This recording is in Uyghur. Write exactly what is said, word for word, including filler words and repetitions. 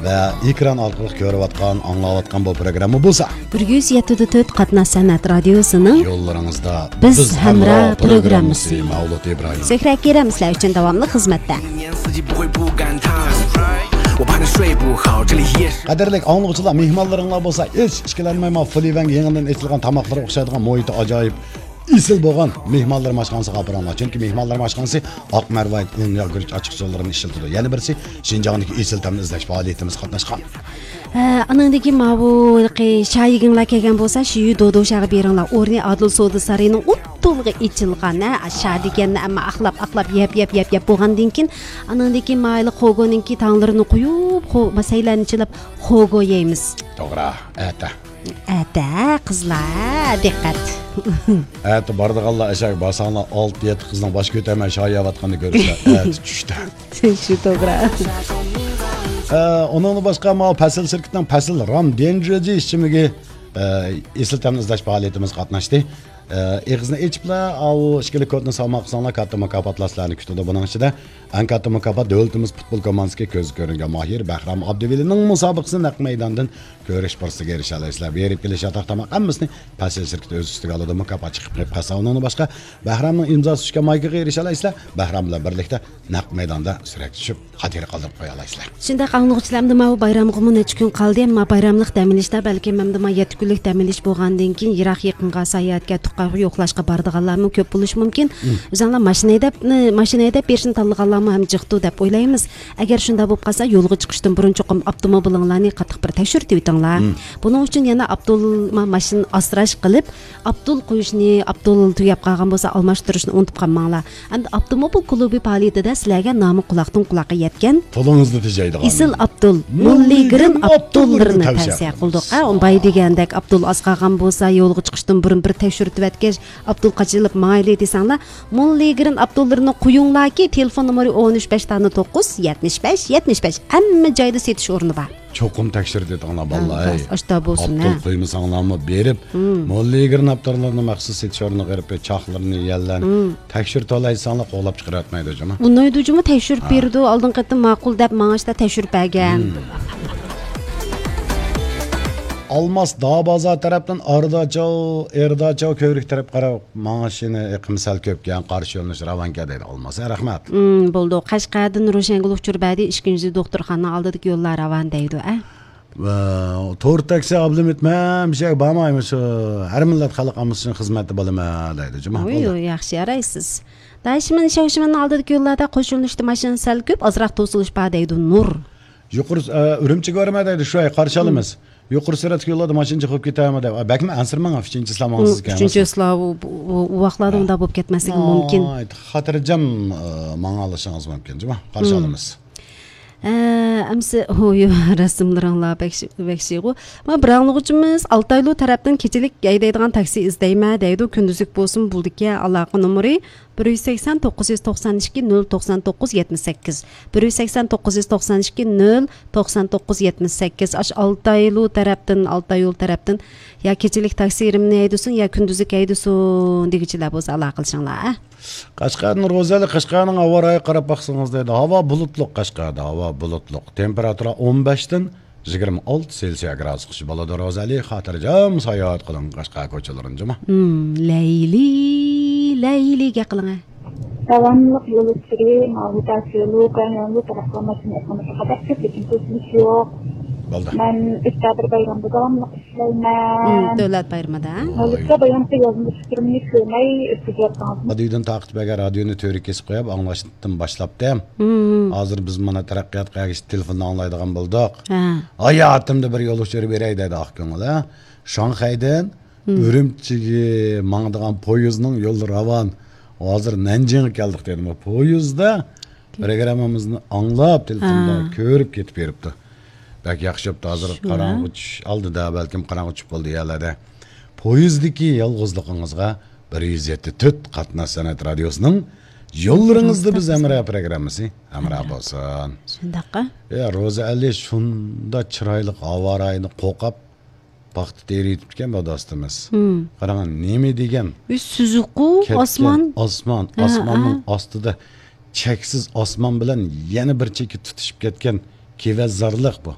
ۋە ئېكران ئارقىلىق كۆرۈۋاتقان، ئاڭلاۋاتقان بۇ پروگرامما بولسا، بىر يۈز يەتتە پۈتۈن تۆت قاتناش سەنئەت رادىيوسىنىڭ يوللىرىڭىزدا بىز بىز ھەمراھ ھەمراھ پروگراممىسى. پروگراممىسى. مەۋلۇت ئىبراھىم. سۆھرەت كېرەم سىلەر ئۈچۈن داۋاملىق خىزمەتتە. قەدىرلىك ئاڭلىغۇچىلار، مېھمانلىرىڭلار بولسا ھېچ ئىككىلەنمەي، ما فۇلىۋەنگە يېڭىدىن ئېچىلغان تاماقلارغا ئوخشايدىغان مۇھىتى ئاجايىپ، ئېسىل بولغان مېھمانلىرىم ئاشخانىسىغا ئاپىرىڭلار. چۈنكى مېھمانلىرىم ئاشخانىسى ئاق مەرۋايىت، ئۇن، ياغ، گۈرۈچ ئاچچىقسۇلىرىنى ئىشلىتىدۇ. يەنە بىرسى، شىنجاڭدىكى ئېسىل تەمنى ئىزدەش پائالىيىتىمىز قاتناشقان. ھە، ئانىڭدىن كېيىن ماۋۇ ھېلىقى شايىگىڭلار كەلگەن بولسا، شىيۈ دودو شاغا بېرىڭلار. ئورنى ئادىل سودا سارىيىنىڭ ئوتتۇلىغا ئېچىلغان، ھە، شا دېگەننى ئەمما ئاقلاپ، ئاقلاپ، يەپ، يەپ، يەپ، يەپ بولغاندىن كېيىن، ئانىڭدىن كېيىن مايلىق خوگونىڭكى تاڭلىرىنى قويۇپ، خو-، ما سەيلەننى چىلاپ خوگو يەيمىز. توغرا، ئەتە. ئەتە، قىزلار، دىققەت. ئەتە بارىدىغانلار ئەشەگە بارساڭلار، ئالتە-يەتتە قىزنىڭ باش كۆتەرمەي شايىيەۋاتقىنىنى كۆرىسىلەر. ئەتە چۈشتە. شۇ توغرا. ئە، ئۇنىڭدىن باشقا، ماۋۇ پەسىل شىركىتىنىڭ پەسىل رام ديەنجۈەجى ئىچىملىكى، ئە، ئېسىل تەمنى ئىزدەش پائالىيىتىمىزغا قاتناشتى. ئە، ئېغىزنى ئېچىپلا، ئاۋۇ ئىككىلىك كودنى سالماق قىلساڭلار، كاتتا مۇكاپاتلار سىلەرنى كۈتىدۇ. بۇنىڭ ئىچىدە ئەڭ كاتتا مۇكاپات دۆلىتىمىز پۇتبول كوماندىسىدىكى كۆزگە كۆرۈنگەن ماھىر بەھرام ئابدىۋەلىنىڭ مۇسابىقىسىنى نەق مەيداندىن كۆرۈش پۇرسىتىگە ئېرىشەلەيسىلەر. بېرىپ كېلىش، ياتاق، تاماق ھەممىسىنى پەسىل شىركىتى ئۆز ئۈستىگە ئالىدۇ. مۇكاپات چىقىپ قالسا، ئۇنىڭدىن باشقا بەھرامنىڭ ئىمزاسى چۈشكەن مايكىغا ئېرىشەلەيسىلەر. بەھرام بىلەن بىرلىكتە نەق مەيداندا سۈرەتكە چۈشۈپ، خاتىرە قالدۇرۇپ قويالايسىلەر. شۇنداق ئاڭلىغۇچىلار، ئەمدى ماۋۇ بايرامغىمۇ نەچچە كۈن قالدى، ئەمما بايراملىق دەم ئېلىشتا بەلكىم ئەمدى ما يەتتە كۈنلۈك دەم ئېلىش بولغاندىن كېيىن يىراق يېقىنغا ساياھەتكە، تۇغقانغا يوقلاشقا بارىدىغانلارمۇ كۆپ بولۇشى مۇمكىن. مم. ئۆزۈڭلار ماشىنا ھەيدەپ، ماشىنا ھەيدەپ بېرىشنى تاللىغانلارمۇ ھەم جىقتۇ دەپ ئويلايمىز. ئەگەر شۇنداق بولۇپ قالسا، يولغا چىقىشتىن بۇرۇن چوقۇم ئاپتوموبىلىڭلارنى قاتتىق بىر تەكشۈرتۈۋېتىڭلار. مم. بۇنىڭ ئۈچۈن يەنە ئاپتول-، ما-، ماشىنا ئاسراش قىلىپ، ئاپتول قويۇشنى، ئاپتول تۈگەپ قالغان بولسا، ئالماشتۇرۇشنى ئۇنتۇپ قالماڭلار. ئەمدى ئاپتوموبىل كۇلۇبى پائالىيىتىدە سىلەرگە نامى قۇلاقتىن قۇلاققا يەتكەن پۇلىڭىزنى تېجەيدىغان ئېسىل ئاپتول، موللىگرىن ئاپتوللىرىنى تەۋسىيە قىلدۇق. ھە، باي دېگەندەك ئاپتول ئاز قالغان بولسا، يولغا چىقىشتىن بۇرۇن بىر تەكشۈرتۈۋەتكەچ، ئاپتول قاچىلىپ ماڭايلى دېسەڭلار، موللىگرىن ئاپتوللىرىنى قويۇڭلاركى، تېلېفون نومۇرى ئون ئۈچ بەش تانا توققۇز، يەتمىش بەش، يەتمىش بەش. ھەممە جايدا سېتىش ئورنى بار. چوقۇم تەكشۈرتۈۋېتىڭلار، بالىلار. ھە، ئەي. ئاشتا بولسۇن، ئاپتول ھە. قويمىساڭلارمۇ بېرىپ، مم. موللىگرىن ئاپتوللىرىنى مەخسۇس سېتىش ئورنىغا بېرىپ، چاقلىرىنى، يەللەرنى مم. تەكشۈرتەۋالايساڭلار، قوغلاپ چىقىرىۋەتمەيدۇ جۇمۇ. ئۇنايدۇ جۇمۇ، تەكشۈرۈپ ھە. بېرىدۇ. ئالدىنقى قېتىم ماقۇل دەپ ماڭا ئاشتا تەكشۈرۈپ بەرگەن. مم. ئالماس داۋا بازار تەرەپتىن ئارداچاۋ، ئېرداچاۋ كۆۋرۈك تەرەپ قاراپ ماڭىشىنى ئېقىم سەل كۆپكەن، قارشى يۆنىلىش راۋانكەن دەيدۇ. ئالماس، رەھمەت. مم، بولدى. قەشقەردىن روشەنگۈل ئۇچۇر بەردى، ئىككىنچى دوختۇرخانا ئالدىدىكى يوللار راۋان دەيدۇ، ئە؟ ۋە تور تاكسى ئابلىمىت مەن بىر يەرگە بارمايمەن، شۇ ھەر مىللەت خەلق ئاممىسى ئۈچۈن خىزمەتتە بولىمەن دەيدۇ جۇمۇ. ئۇي، بولدى. ئۇي، ياخشى يارايسىز. داشىمەن، شاۋشىمەننىڭ ئالدىدىكى يوللاردا قوش يۆنىلىشتە ماشىنا سەل كۆپ، ئازراق توسۇلۇش بار دەيدۇ نۇر. يۇقىرى، ئە، ئۈرۈمچىگە بارىمەن دەيدۇ، شۇ ئاي قارشى ئالىمىز. يۇقىرى سۈرئەتلىك يوللاردا ماشىنا چېقىپ كېتەرمۇ دەپ. بەكمۇ ئەنسىرىمەڭ، ئۈچىنچى سىلەر ماڭىسىز ئىكەن. ئۈچىنچى سىلەر ئۇ، ئۇ، ئۇ ۋاقىتلاردا ھە. ئۇنداق بولۇپ كەتمەسلىكى مۇمكىن. ناھايىتى خاتىرجەم، ئە، ماڭالىشىڭىز مۇمكىن، جۇمۇ. قارشى ئالىمىز. ئە، ئەمسە، ھوي، رەسىملىرىڭلار بەك شى-، بەك شىغۇ. ما بىر ئاڭلىغۇچىمىز ئالتايلۇ تەرەپتىن كېچىلىك ھەيدەيدىغان تاكسى ئىزدەيمەن دەيدۇ. كۈندۈزلۈك بولسۇن، بولىدىكەن، ئالاقە نومۇرى بىر يۈز سەكسەن، توققۇز يۈز توقسان ئىككى، نۆل توقسان توققۇز، يەتمىش سەككىز. بىر يۈز سەكسەن، توققۇز يۈز توقسان ئىككى، نۆل توقسان توققۇز، يەتمىش سەككىز. ئاشۇ ئالتايلۇ تەرەپتىن، ئالتايلۇ تەرەپتىن يا كېچىلىك تاكسىرىمنى ھەيدىسۇن، يا كۈندۈزلۈك ھەيدىسۇن دېگۈچىلەر بولسا ئالاقىلىشىڭلار، ھە؟ قەشقەردىن روزەلى، قەشقەرنىڭ ھاۋا رايىغا قاراپ باقسىڭىز دەيدۇ. ھاۋا بۇلۇتلۇق قەشقەردە، ھاۋا بۇلۇتلۇق. تېمپېراتۇرا ئون بەشتىن يىگىرمە ئالتە سېلسىيە گرادۇسقىچە بولىدۇ. روزەلى، خاتىرجەم ساياھەت قىلىڭ قەشقەر كوچىلىرىنى جۇمۇ. مم، لەيلى، لەيلىگە قىلىڭە. داۋاملىق يول ئۈستىدە ماۋۇ تاش يولى، كەڭ يولى تەرەپكە ماشىنا ئېقىمىغا قاراپ كۆپ، لېكىن توسۇلۇش يوق. بولدى. مەن ئۆكتەبىر بايرىمىدا داۋاملىق ئىشلەيمەن. مم، دۆلەت بايرىمىدا. ھازىرچە بايرامقى يازما پىكرىمنى كۆرمەي ئۆتكۈزۈۋاتقان. رادىيودىن تارقىتىپ بەرگەن رادىيونى تۆرگە كېسىپ قويۇپ ئاڭلاشتىن باشلاپتىم. مم. ھازىر بىز مانا تەرەققىياتقا ئەگىشىپ تېلېفوندا ئاڭلايدىغان بولدۇق. ھە. ھاياتىمدا بىر يول ئۇچۇرى بېرەي دەيدۇ ئاقكۆڭۈل، ھە. شاڭخەيدىن مم. ئۈرۈمچىگە ماڭىدىغان پويىزنىڭ يولى راۋان. ھازىر نەنجىڭغا كەلدۇق دېدىم. پويىزدا پروگراممىمىزنى ئاڭلاپ، تېلېفوندا ھە. كۆرۈپ كېتىپ بېرىپتۇ. بەك ياخشى بوپتۇ. ھازىر شۇ، قاراڭغۇ ھە؟ چۈش ئالدىدا، بەلكىم قاراڭغۇ چۈشۈپ بولدى يەرلەردە. پويىزدىكى يالغۇزلۇقىڭىزغا بىر يۈز يەتتە تۆت قاتناش سەنئەت رادىيوسىنىڭ يوللىرىڭىزدا بىز ھەمراھ پروگراممىسى ھەمراھ بولسۇن. شۇنداققا؟ يا، روزا ئەلى شۇنداق چىرايلىق ھاۋا رايىنى قوقاپ، پاختا تېرىۋېتىپتىكەن بۇ دوستىمىز. مم. قاراڭ، نېمە دېگەن؟ ئۆي سۈزۈكقۇ، كەتكەن ئاسمان. ئاسمان، ھە، ئاسماننىڭ ھە. ئاستىدا چەكسىز ئاسمان بىلەن يەنە بىر چېكى تۇتىشىپ كەتكەن كېۋەزارلىق بۇ.